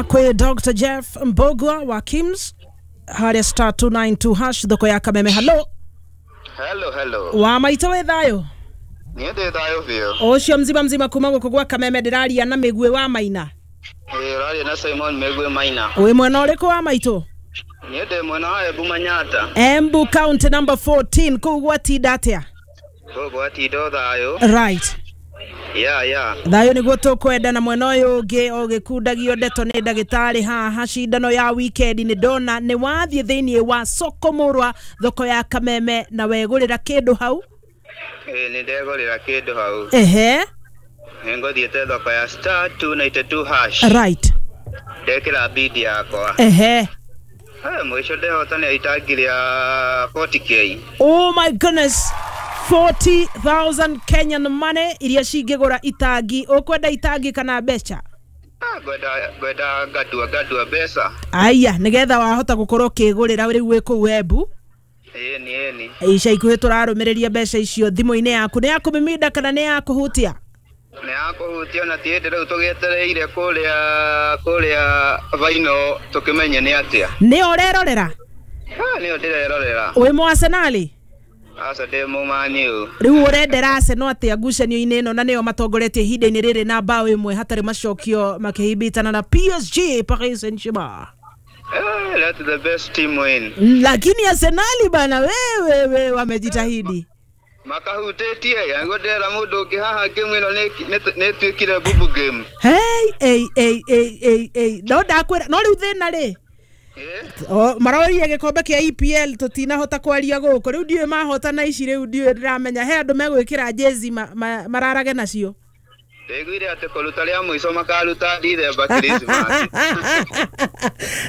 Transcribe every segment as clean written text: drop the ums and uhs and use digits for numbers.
Kwĩ Dr Jeff Mbogwa wa KIMS harĩa star 292 hash thoko ya Kameme. Hello. Hello, hello. Wa maitũ, wĩ thayũ? Niĩ ndĩ thayũ biũ. Ũcio mzima mzima kuma gũkũ gwa Kameme. Ndĩraria na Mĩguĩ wa Maina? Ĩĩ, ũraria na Simon Mĩguĩ Maina. Wĩ mwena ũrĩkũ, wa maitũ? Niĩ ndĩ mwena wa Embu Manyata. Embu County number 14. Kũu gwatinda atĩa? Kũu gwatinda o thayũ. Ya. Thayũ nĩguo tũkwenda. Na mwena ũyũ ũngĩ ũgĩkundagio ndeto nĩ ndagĩtarĩ haha, cindano ya weekend, nĩ ndona nĩ wathiĩ thĩinĩ wa soko mũrwa, thoko ya Kameme, na wegũrĩra kĩndũ hau. Ĩĩ, nĩ ndegũrĩra kĩndũ hau. Nĩ ngũthiĩte thoko ya star 292 hash. Ndekĩra bid yakwa. Hey, mũico ndehotanĩra itangi rĩa 40K. Oh my goodness, 40,000 Kenyan money iria cingĩgũra itangi. Ũkwenda itangi kana mbeca? Ah, ngwenda ngadua mbeca. Aya, nĩgetha wahota gũkorwo ũkĩgũrĩra rĩu wĩ kũu Embu. Ĩni. Ica ikuhĩ tũrarũmĩrĩria mbeca icio thimũ-inĩ yaku. Nĩ ya kũmiminda kana nĩ ya kũhutia? Nĩ ya kũhutia, na ti hĩndĩ rĩu tũgĩetereire kũrĩa baino tũkĩmenye nĩ atĩa. Nĩ ũrerorera? Ah, nĩyo ndĩrerorera. Wĩ mũ Arsenal? Aca, ndĩ mũmaniũ. Rĩu ũrendera Arsenal atĩa ngucanio-inĩ ĩno, na nĩo matongoretie ihinda-inĩ rĩrĩ na bao 1 hatarĩ macokio, makĩhimbitana na PSG, Paris Saint-Germain? Eh, let the best team win. Lakini Arsenali bana, wewe we, wamejitahidi. Makahutĩtie yangu, ndĩrera mũndũ ũngĩ haha, game ĩno nĩ ĩtuĩkire bubu game. Hey, hey, hey, hey, hey, hey. No ndakwĩra, no rĩu thĩna rĩ, maroria gĩkombe kĩa EPL tũtinahota kwaria gũkũ. Rĩu ndiũĩ mahotana ici, rĩu ndiũĩ, ndĩramenya he andũ megwĩkĩra jezi mararage nacio. Ndaiguire atĩ kũruta rĩa mũico makaruta December Christmas.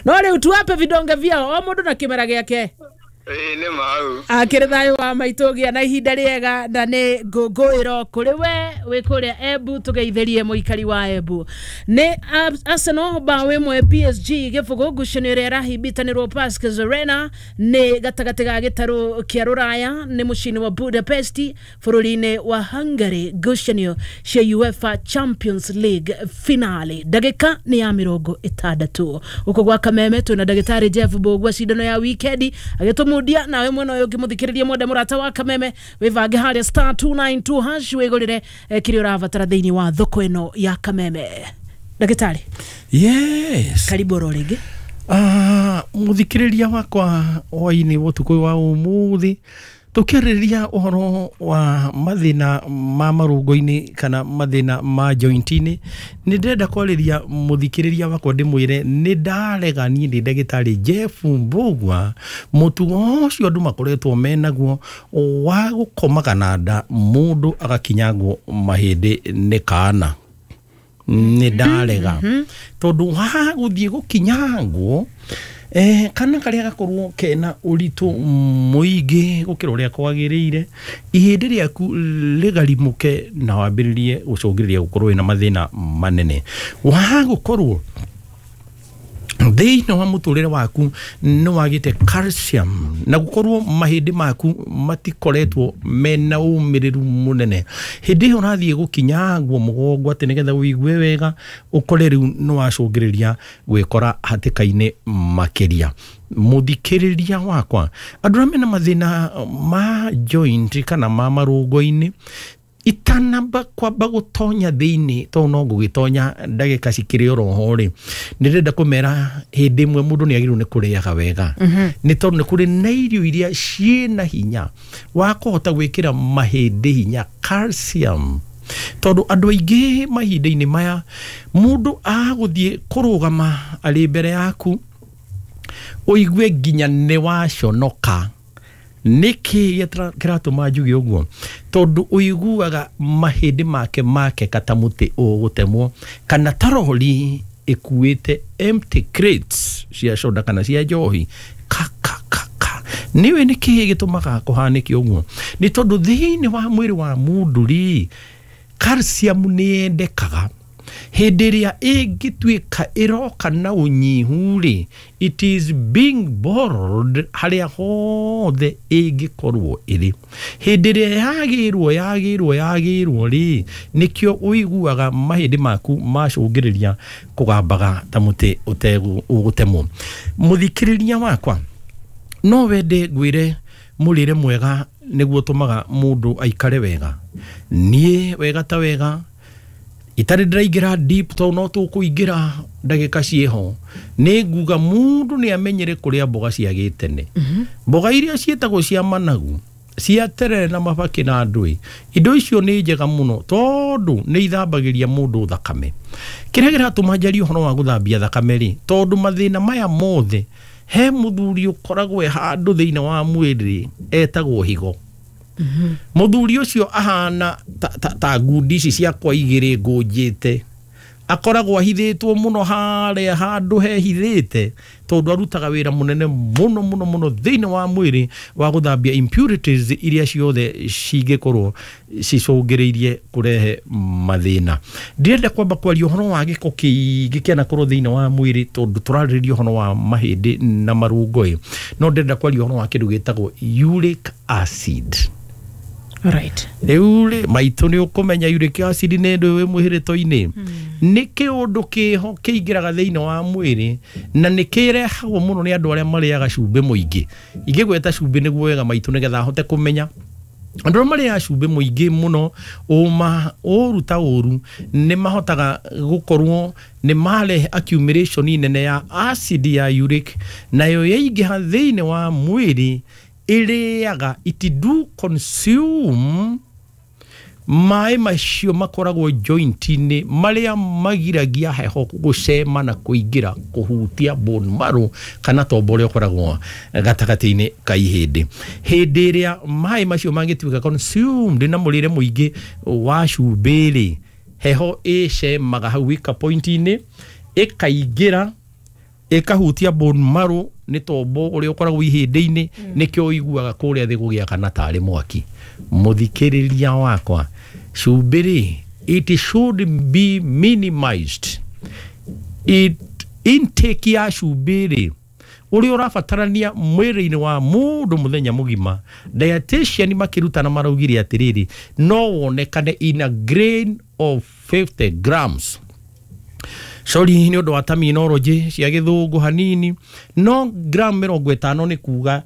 No rĩu tuwape vidonge vyao, o mũndũ na kĩmera gĩake. Ĩĩ, nĩ mau. Akĩrĩ thayũ wa maitũ, gĩa na ihinda rĩega, na nĩ ngũngũĩro kũrĩ we wĩ kũrĩa Embu. Tũgeithĩrie mũikari wa Embu. Nĩ Arsenal bao 1, PSG 0, ngucanio ĩrĩa ĩrahimbitanĩrwo Pascal Arena, nĩ gatagatĩ ga gĩtarũ kĩa Rũraya, nĩ mũciĩ-inĩ wa Budapest bũrũri-inĩ wa Hungary, ngucanio cia UEFA Champions League finale, ndagĩka nĩ ya 60. Gũkũ gwa Kameme twĩna ndagĩtarĩ Jeff Mbũgua, cindano ya wikendi agĩtũmundia. Nawe mwena ũyũ ũngĩ, mũthikĩrĩria mwende mũrata wa Kameme, wĩvange harĩa star 292 hash, wĩgũrĩre kĩrĩa ũrabatara thĩinĩ wa thoko ĩno ya Kameme. Ndagĩtarĩ. Yes. Karibu oro rĩngĩ. Ah, muthikĩrĩria wakwa, hwainĩ wa ũtukũ wa ũmũthĩ tũkĩarĩrĩria ũhoro wa mathĩna ma marũngo-inĩ kana mathĩna ma joint-inĩ. Nĩ ndĩrenda kwarĩria mũthikĩrĩria wakwa, ndĩmwĩre nĩ ndarega, niĩ ndĩ ndagĩtarĩ Jeff Mbũgua, mũtugo ũcio andũ makoretwo menaguo wa gũkomaga na nda, mũndũ agakinyangwo mahĩndĩ nĩ kana, nĩ ndarega, tondũ wa gũthiĩ gũkinyangwo kana karĩa gakorwo kena ũritũ mũingĩ gũkĩra ũrĩa kwagĩrĩire, ihĩndĩ rĩaku rĩgarimũke na wambĩrĩrie gũcũngĩrĩria gũkorwo wĩna mathĩna manene wa gũkorwo thĩinĩ wa mũtũrĩre waku nĩ wagĩte calcium, na gũkorwo mahĩndĩ maku matikoretwo mena ũmĩrĩru mũnene. Hĩndĩ ĩyo ũrathiĩ gũkinyangwo mũgongo atĩ nĩgetha ũigue wega, ũkore rĩu nĩ wacũngĩrĩria gwĩkora hatĩka-inĩ makĩria. Mũthikĩrĩria wakwa, andũ arĩa mena mathĩna ma joint kana ma marũngo-inĩ, itanamba kwamba gũtonya thĩinĩ, tondũ no ngũgĩtonya ndagĩka cikĩrĩ oroho rĩ, nĩ ndĩrenda kũmera hĩndĩ ĩmwe mũndũ nĩ agĩrĩirwo nĩ kũrĩaga wega, nĩ tondũ nĩ kũrĩ na irio iria ciĩna hinya wa kũhota gwĩkĩra mahĩndĩ hinya, calcium, tondũ andũ aingĩ mahinda-inĩ maya, mũndũ agũthiĩ kũrũgama arĩ mbere yaku, ũigue nginya nĩ waconoka. Nĩkĩ kĩratũma njuge ũguo? Tondũ ũiguaga mahĩndĩ make makeka ta mũtĩ ũgũtemwo kana ta rori ĩkuĩte empty crates cia soda kana cia njohi, ka ka ka ka. Nĩũĩ nĩkĩ gĩtũmaga kũhanĩke ũguo? Nĩ tondũ thĩinĩ wa mwĩrĩ wa mũndũ rĩ, calcium nĩ yendekaga. Hĩndĩ ĩrĩa ĩngĩtuĩka ĩroka na ũnyihu rĩ, it is being borrowed harĩa hothe ĩngĩkorwo ĩrĩ. Hĩndĩ ĩrĩa yagĩrwo rĩ, nĩkĩo ũiguaga mahĩndĩ maku macũngĩrĩria kũgambaga ta mũtĩ ũgũtemwo. Mũthikĩrĩria wakwa, no wende ngwĩre mũrĩre mwega nĩguo ũtũmaga mũndũ aikare wega. Niĩ wega ta wega itarĩ ndĩraingĩra deep tondũ no tũkũingĩra ndagĩka ciĩho, nĩ nguga mũndũ nĩ amenyere kũrĩa mboga cia gĩtene. Mboga iria ciĩtagwo cia managu, cia terere na mabakĩ na ndũĩ, indo icio nĩ njega mũno tondũ nĩ ithambagĩria mũndũ thakame. Kĩrĩa kĩratũma njarie ũhoro wa gũthambia thakame rĩ, tondũ mathĩna maya mothe, he mũthuri ũkoragwo e handũ thĩinĩ wa mwĩrĩ etagwo higo. Mũthuri ũcio ahana ta ngundi ici ciakwa igĩrĩ ngũnjĩte, akoragwo ahithĩtwo mũno harĩa handũ hehithĩte, tondũ arutaga wĩra mũnene mũno mũno mũno thĩinĩ wa mwĩrĩ wa gũthambia impurities iria ciothe cingĩkorwo cicũngĩrĩirie kũrehe mathĩna. Ndĩrenda kwamba kwaria ũhoro wa gĩko kĩingĩ kĩanakorwo thĩinĩ wa mwĩrĩ tondũ tũrarĩrĩria ũhoro wa mahĩndĩ na marũngo, no ndĩrenda kwaria ũhoro wa kĩndũ gĩtagwo uric acid. Right. Rĩu rĩ, maitũ nĩ ũkũmenya uric acid nĩ ndũ wĩ mwĩhĩrĩto-inĩ. Nĩ kĩũndũ kĩho kĩingĩraga thĩinĩ wa mwĩrĩ na nĩ kĩrehagwo mũno nĩ andũ arĩa marĩaga cumbĩ mũingĩ. Ingĩgweta cumbĩ nĩguo wega maitũ nĩgetha ahote kũmenya. Andũ arĩa marĩaga cumbĩ mũingĩ mũno, ũma ũru ta ũru, nĩ mahotaga gũkorwo nĩ marehe accumulation nene ya acid ya uric, nayo yaingĩha thĩinĩ wa mwĩrĩ ĩrĩaga, it do consume maĩ macio makoragwo joint-inĩ marĩa magiragia heho gũcema na kũingĩra kũhutia bone marrow kana tombo ũrĩa ũkoragwo gatagatĩ-inĩ ka ihĩndĩ. Hĩndĩ ĩrĩa maĩ macio mangĩtuĩka consumed na mũrĩre mũingĩ wa cumbĩ rĩ, heho ĩcemaga hau weaker point-inĩ, ĩkaingĩra ĩkahutia bone marrow nĩ tombo ũrĩa ũkoragwo ihĩndĩ-inĩ, nĩkĩo ũiguaga kũrĩa thĩ gũgĩakana tarĩ mwaki. Mũthikĩrĩria wakwa, cumbĩ rĩ, it should be minimized. It intake ya cumbĩ rĩ, ũrĩa ũrabatarania mwĩrĩ-inĩ wa mũndũ mũthenya mũgima, dietitian makĩrutana maraugire atĩrĩrĩ, no wonekane in a grain of 50 grams. Sorry nĩ ũndũ wa terminology cia gĩthũngũ hanini, no gram 50 nĩ kuga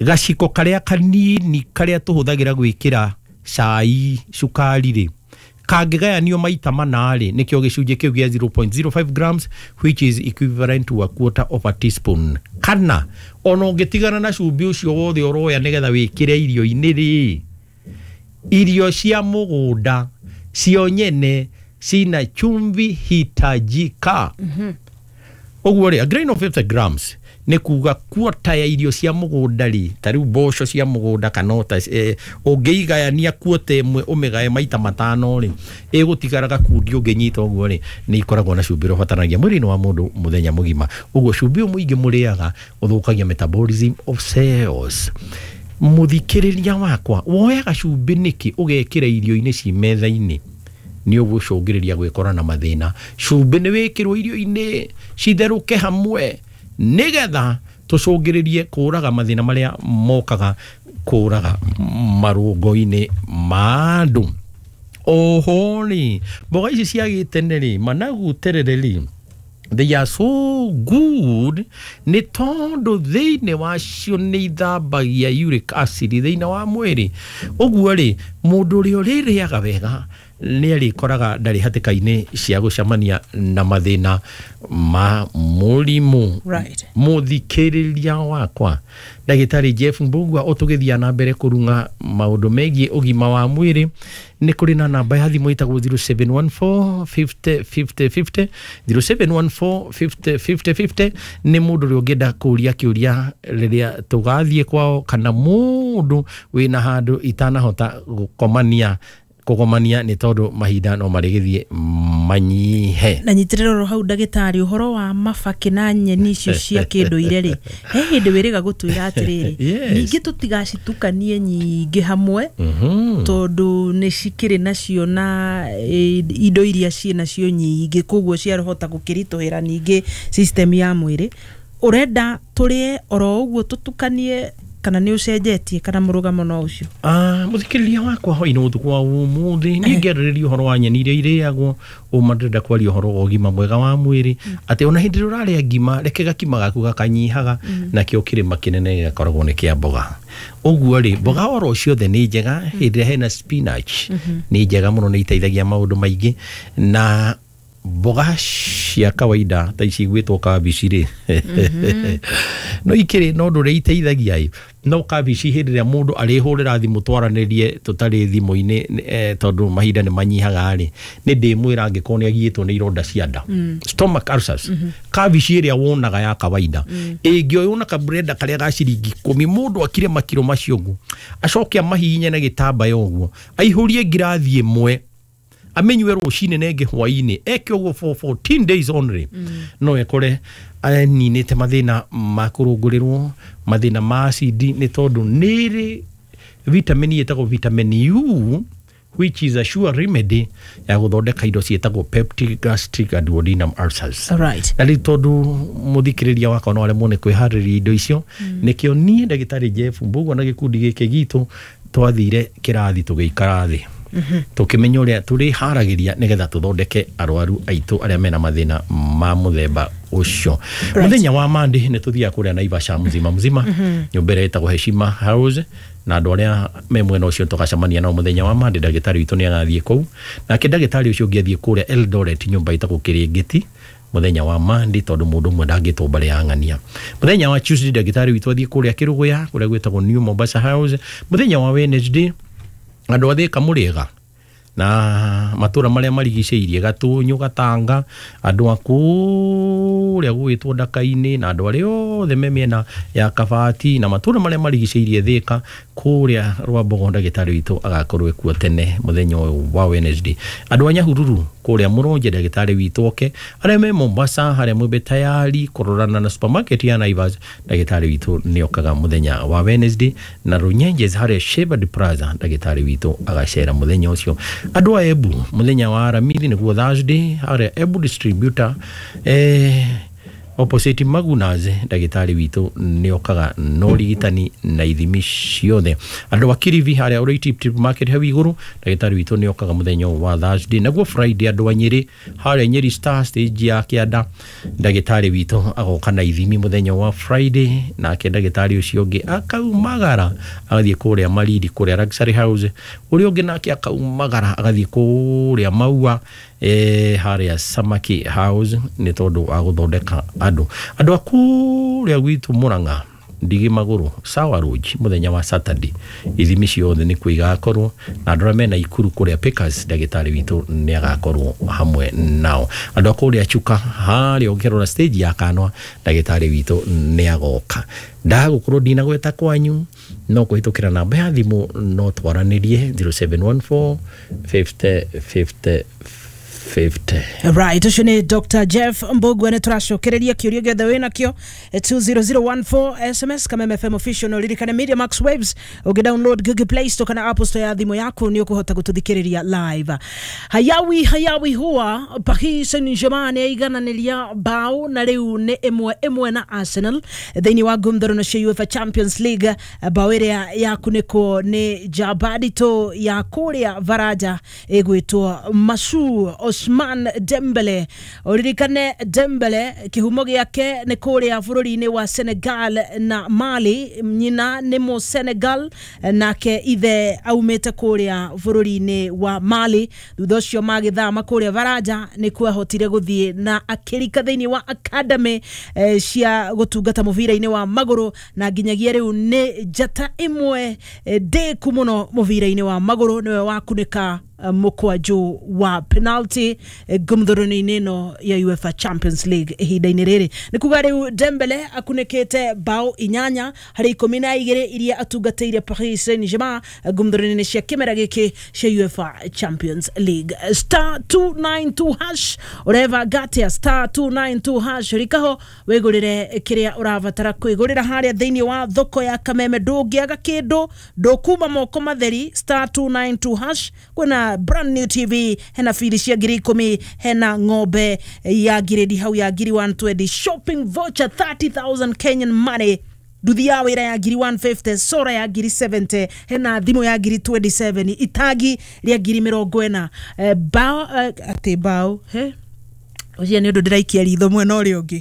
gaciko karĩa kanini karĩa tũhũthagĩra gwĩkĩra cai cukari rĩ, kangĩgayanio maita mana rĩ, nĩkĩo gĩcunjĩ kĩu gĩa 0.05 grams, which is equivalent to a quarter of a teaspoon. Kana ona ũngĩtigana na cumbĩ ũcio wothe ũroya nĩgetha wĩkĩre irio-inĩ rĩ, irio cia mũgũnda cio nyene cina chumvi hitajika. Ũguo rĩ, a grain of 50 grams nĩ kuga quarter ya irio cia mũgũnda rĩ, ta rĩu mboco cia mũgũnda kana ota ũngĩigayania quarter ĩmwe ũmĩgae maita matano rĩ, ĩgũtigara gakundi ũngĩnyita ũguo rĩ, nĩ ikoragwo na cumbĩ ũrĩa ũbataranagia mwĩrĩ-inĩ wa mũndũ mũthenya mũgima. Ũguo cumbĩ ũyũ mũingĩ mũrĩaga ũthũkagia metabolism of cells. Mũthikĩrĩria wakwa, woyaga cumbĩ nĩkĩ ũgekĩra irio-inĩ ci metha-inĩ? Nĩ ũgũcũngĩrĩria gwĩkora na mathĩna. Cumbĩ nĩ wĩkĩrwo irio-inĩ citherũke hamwe nĩgetha tũcũngĩrĩrie kũraga mathĩna marĩa mokaga kũraga marũngo-inĩ ma andũ. Oho rĩ, mboga ici cia gĩtene rĩ, managu terere rĩ, they are so good nĩ tondũ thĩinĩ wacio nĩ ithambagia uric acid thĩinĩ wa mwĩrĩ. Ũguo rĩ, mũndũ ũrĩa ũrĩrĩaga wega nĩ arĩkoraga ndarĩ hatĩka-inĩ cia gũcemania na mathĩna ma mũrimũ. Right. Mũthikĩrĩria wakwa, ndagĩtarĩ Jeff Mbugua ũtũgĩthiĩ na mbere kũrung'a maũndũ megiĩ ũgima wa mwĩrĩ, nĩ kũrĩ na namba ya thimũ ĩtagwo 0714 50 50 50, 0714 50 50 50. Nĩ mũndũ ũrĩa ũngĩenda kũria kĩũria rĩrĩa tũgathiĩ kwao, kana mũndũ wĩna handũ itanahota gũkomania kũgomania nĩ tondũ mahinda no marĩgĩthiĩ manyihe. Na nyitĩrĩra oro hau ndagĩtarĩ, ũhoro wa mabakĩ na nyeni icio cia kĩndũire rĩ, he hĩndĩ wĩrĩga gũtwĩra atĩrĩrĩ, ningĩ tũtigacitukanie nyingĩ hamwe, tondũ nĩ cikĩrĩ nacio na indo iria ciĩ nacio nyingĩ, koguo ciahota gũkĩritũhĩra ningĩ system ya mwĩrĩ. Ũrenda tũrĩe oro ũguo tũtukanie, kana nĩ ũcenjetie, kana mũrũgamo no ũcio? Mũthikĩrĩria wakwa hwaĩ-inĩ ũtukũ wa ũmũthĩ, niĩ ngĩarĩrĩria ũhoro wa nyeni iria irĩagwo, ũma ndĩrenda kwaria ũhoro wa ũgima mwega wa mwĩrĩ, atĩ ona hĩndĩ ĩrĩa ũrarĩa ngima, reke gakima gaku gakanyihaga, nakĩo kĩrĩma kĩnene gĩgakoragwo nĩ kĩa mboga. Ũguo rĩ, mboga oro ciothe nĩ njega, hĩndĩ ĩrĩa hena spinach nĩ njega mũno, nĩ iteithagia maũndũ maingĩ. Na mboga cia kawaida ta ici igwĩtwo kabici rĩ, no ikĩrĩ no ũndũ ũrĩa iteithagia ĩ, no kabici hĩndĩ ĩrĩa mũndũ arĩhũrĩra thimũ twaranĩrie tũtarĩ thimũ-inĩ, tondũ mahinda nĩ manyihaga rĩ, nĩ ndĩmwĩra angĩkorwo nĩ agiĩtwo nĩ ironda cia nda, stomach ulcers, kabici ĩrĩa wonaga ya kawaida ĩngĩoywo na kaburenda karĩa ga ciringi 10, mũndũ akire makiro macio ũguo, acoke amahihinye na gĩtambaya ũguo, aihũrie ngirathi ĩmwe, amenywe rũcinĩ na ĩngĩ hwaĩ-inĩ, eke ũguo for 14 days only, no ekore aninĩte mathĩna ma kũrũngũrĩrwo, mathĩna ma acidi, nĩ tondũ nĩrĩ vitamin ĩtagwo vitamin U, which is a sure remedy ya gũthondeka indo ciĩtagwo peptic gastric and duodenum ulcers. Na rĩu tondũ mũthikĩrĩria wakwa no aremwo nĩ kwĩharĩria indo icio, nĩkĩo niĩ ndagĩtarĩ Jeff Mbugua na gĩkundi gĩkĩ gitũ twathire kĩrathi tũgĩikara thĩ, tũkĩmenya ũrĩa tũrĩharagĩria nĩgetha tũthondeke arwaru aitũ arĩa mena mathĩna ma mũthemba ũcio. Mũthenya wa Monday nĩ tũthiaga kũrĩa Naivasha mzima mzima, nyũmba ĩrĩa ĩtagwo Heshima House, na andũ arĩa me mwena ũcio tũgacemania nao mũthenya wa Monday. Ndagĩtarĩ witũ nĩ agathiĩ kũu, nake ndagĩtarĩ ũcio ũngĩ athiĩ kũrĩa Eldoret, nyũmba ĩtagwo Kĩrĩngĩti, mũthenya wa Monday, tondũ mũndũ ũmwe ndangĩtwo mbere ya ng'ania. Mũthenya wa Tuesday ndagĩtarĩ witũ athiĩ kũrĩa Kĩrũgũya, kũrĩa gwĩtagwo New Mombasa House. Mũthenya wa Wednesday andũ a Thĩka Mũrĩega na matũra marĩa marigicĩirie, Gatũnyũ, Gatanga, andũ a kũrĩa gwĩtwo Ndaka-inĩ, na andũ arĩa othe me mĩena ya Kabati na matũra marĩa marigicĩirie Thĩka, kũrĩa Rwambogo ndagĩtarĩ witũ agakorwo ekuo tene mũthenya ũyũ wa Wednesday. Andũ a Nyahururu kũrĩa Mũronje ndagĩtarĩ witũ oke, arĩa me Mombasa harĩa Mwembe Tayari kũrorana na supermarket ya Naivas, ndagĩtarĩ witũ nĩ okaga mũthenya wa Wednesday. Na Runyenjes harĩa Shepherd Plaza ndagĩtarĩ witũ agacera mũthenya ũcio. Andũ a Embu mũthenya wa Aramithi nĩguo Thursday, harĩa Embu distributor opposite Magunas, ndagĩtarĩ witũ nĩ okaga na ũrigitani na ithimi ciothe. Andũ a Kiribi harĩa Oroiti Tip Market hau igũrũ, ndagĩtarĩ witũ nĩ okaga mũthenya wa Thursday. Naguo Friday andũ a Nyĩrĩ harĩa Nyĩrĩ Star stage ya kĩanda, ndagĩtarĩ witũ agoka na ithimi mũthenya wa Friday. Nake ndagĩtarĩ ũcio ũngĩ akaumagara agathiĩ kũrĩa Maridi, kũrĩa Luxury House. Ũrĩa ũngĩ nake akaumagara agathiĩ kũrĩa Maua, harĩa Samaki House, nĩ tondũ wa gũthondeka andũ. Andũ a kũrĩa gwitũ Mũrang'a, Ndigi Magũrũ, Sawa Lodge mũthenya wa Saturday, ithimi ciothe nĩkuo igakorwo. Na andũ arĩa mena Ikuru kũrĩa Pickers, ndagĩtarĩ witũ nĩ agakorwo hamwe nao. Andũ a kũrĩa Chuka harĩa ũngĩrora stage ya Kanwa, ndagĩtarĩ witũ nĩ agoka. Ndagũkorwo ndinagweta kwanyu, no kũhĩtũkĩra namba ya thimũ no twaranĩrie 0714 50 50 50. Right, ũcio nĩ Dr. Jeff Mbugua. Nĩ tũracokereria kĩũria gĩothe wĩ nakĩo 20014 SMS Kameme FM official. No ririkane Media Max Waves, ũngĩ download Google Play Store kana Apple Store ya thimũ yaku nĩ ũkũhota gũtũthikĩrĩria live. Hayawi hayawi huwa Paris Saint-Germain yaigananĩria bao na rĩu nĩ 1-1 na Arsenal thĩinĩ wa ngumthoro cia UEFA Champions League. Bao ĩrĩa yakunĩkwo nĩ Jabadito ya kũrĩa Varaja ĩgwĩtwo Masu Osman Dembele. Ũririkane Dembele kĩhumo gĩake nĩ kũrĩa bũrũri-inĩ wa Senegal na Mali, nyina nĩ mũ Senegal nake ithe aumĩte kũrĩa bũrũri-inĩ wa Mali. Thutha ũcio magĩthama kũrĩa Varaja nĩkuo ahotire gũthiĩ na akĩrika thĩinĩ wa academy cia gũtungata mũbira-inĩ wa magũrũ, na nginyagia rĩu nĩ njata ĩmwe ndĩku mũno mũbira-inĩ wa magũrũ, nĩwe wakunĩka Mũkwanjũ wa penalty ngumthuruni-inĩ ĩno ya UEFA Champions League ihinda-inĩ rĩrĩ. Nĩ kuga rĩu Dembele akunĩkĩte bao 8 harĩ 12 iria atungatĩire Paris Saint-Germain ngumthuruni-inĩ cia kĩmera gĩkĩ cia UEFA Champions League. Star 292 hash ũreva gatia star 292 hash rikaho wĩgũrĩre kĩrĩa ũrabatara kwĩgũrĩra harĩa thĩinĩ wa thoko ya Kameme. Ndũngĩaga kĩndũ, ndũkuma moko matheri. Star 292 hash kwĩna brand new TV, hena biri cia 10,000, hena ng'ombe ya ngiredi hau ya 120,000, shopping voucher 30,000 Kenyan money, nduthi ya wĩra ya 150,000, sora ya 70,000, hena thimũ ya 27,000, itagi rĩa 40,000, bao atĩ bao he ũcio nĩ ũndũ ndĩraikia ritho mwena ũrĩa ũngĩ.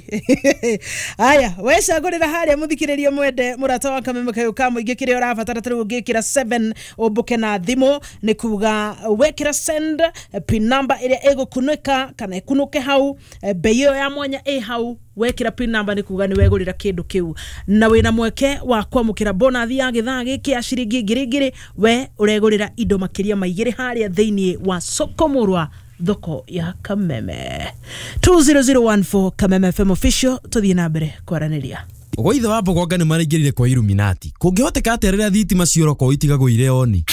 Aya, wecagũrĩra harĩa mũthikĩrĩria mwende mũrata wa Kameme kayũ ka mũingĩ kĩrĩa ũrabatara tarĩu ũngĩkĩra 7 ũmbũke na thimũ, nĩ kuga wekĩra send pin number ĩrĩa ĩgũkunĩka kana ĩkunũke hau, bei ĩyo ya mwanya ĩ hau, wekĩra pin number nĩ kuga nĩ wegũrĩra kĩndũ kĩu na wĩna mweke wa kwamũkĩra bonathi ya gĩthaa gĩkĩ ya ciringi 2,000. We ũregũrĩra indo makĩria ma 2 harĩa thĩinĩ wa soko mũrwa thoko ya Kameme. 20014 Kameme FM official, tuthiĩ na mbere kwaranĩria. Gwa ithe wa Mbogonga nĩ maraingĩrire kwa Illuminati. Kũngĩhoteka atĩa rĩrĩa thitima ciora itigagwo irĩ oni?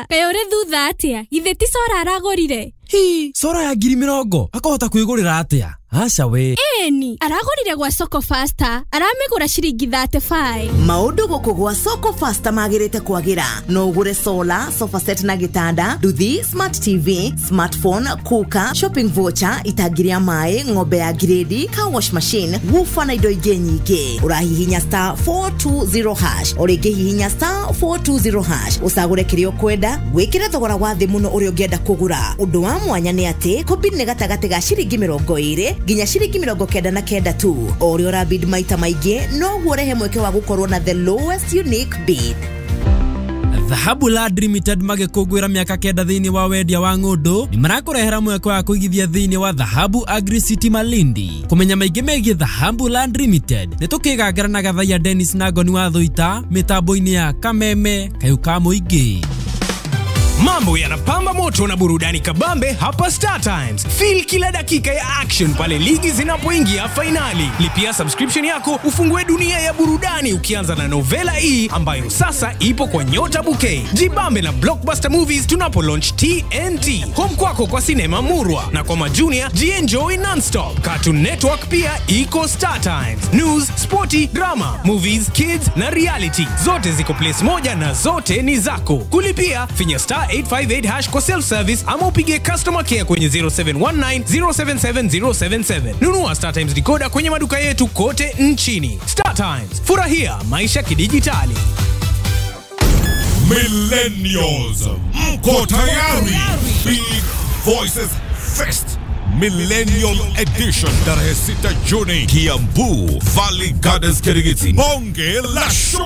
Kaĩ ũrĩ thutha atĩa? Githĩ ti sora aragũrire? Hi, sora ya 20,000 akahota kwĩgũrĩra atĩa? Aca we. Ĩni, aragũrire gwa Soko Faster, aramĩgũra ciringi 35. Maũndũ gũkũ gwa Soko Faster magĩrĩte kwagĩra. No ũgũre solar, sofa set na gĩtanda, nduthi, smart TV, smartphone, cooker, shopping voucher, itangi rĩa maĩ, ng'ombe ya grade, car wash machine, woofer na indo ingĩ nyingĩ. Ũrahihinya star 420 hash, o rĩngĩ hihinya star 420 hash, ũcagũre kĩrĩa ũkwenda, wĩkĩre thogora wa thĩ mũno ũrĩa ũngĩenda kũgũra. Ũndũ wa mwanya nĩ atĩ kũbid nĩ gatagatĩ ga ciringi 20 nginya ciringi 99 tu. O ũrĩa ũrabid maita maingĩ noguo ũrehe mweke wa gũkorwo na the lowest unique bid. Dhahabu Land Limited magĩkũngũĩra mĩaka 9 thĩinĩ wa wendia wa ng'ũndũ nĩ marakũrehera mweke wa kũigithia thĩinĩ wa Dhahabu Agri City Malindi. Kũmenya maingĩ megiĩ Dhahabu Land Limited nĩ tũkĩgangara na Gathaiya Dennis na Ngoni wa Thũita mĩtambo-inĩ ya Kameme kayũ ka mũingĩ. Mambo yanapamba moto na burudani kabambe hapa Star Times. Feel kila dakika ya action pale ligi zinapoingia finali. Lipia subscription yako ufungue dunia ya burudani ukianza na novela E ambayo sasa ipo kwa Nyota Bouquet. Jibambe na Blockbuster Movies tunapo launch TNT. Home kwako kwa sinema Murwa na kwa majunia jienjoy nonstop. Cartoon Network pia iko Star Times. News, sporty, drama, movies, kids na reality. Zote ziko place moja na zote ni zako. Kulipia finya star 858 hash kwa self-service ama upige customer care kwenye 0719 077 077. Nunua Star Times decoder kwenye maduka yetu kote nchini. Star Times, furahia maisha kidijitali. Millennials, mko tayari? Big Voices Fest Millennium Edition tarehe 6 Juni, Kiambu Valley Gardens, Kirigiti. Bonge la show.